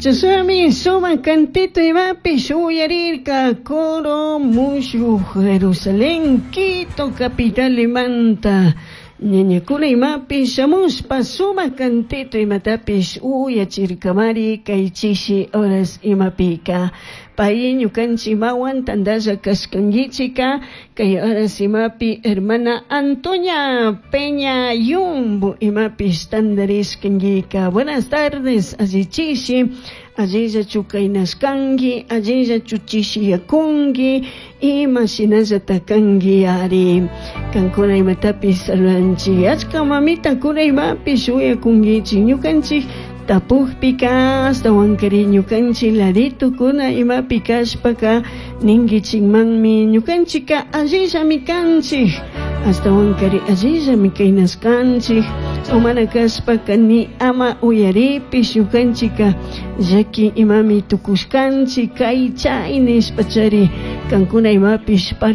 Chashnami sumac cantito imapish uyarirca coro mushuj Jerusalén Quito capitalimanta ñañacuna imapish shamushpa sumac cantito imatapish uyachircamari cai chishi horas imapica. Pai ñucanchik imahuan tandalla cashcanguichica cai horas imapi hermana Antonia Peña Yumbo imapish tandarishcanguica. Buenas tardes, allichishi, allilla cainashcangui, allilla chishiyacungui, ima shinallata cangui ari. Cancuna imatapish saludanchik, achca mamitakuna imapish uyacunguichik, ñucanchik tapujpika ashtahuankari ñukanchik laditokuna imapi kashpaka ninguichikmanmi ñukanchika allillami kanchik ashtahuankari allillami kaynashkanchik o mana kashpaka ni ama uyaripish ñukanchika llaki imami tukushkanchik kay chay nishpachari kankuna imapish.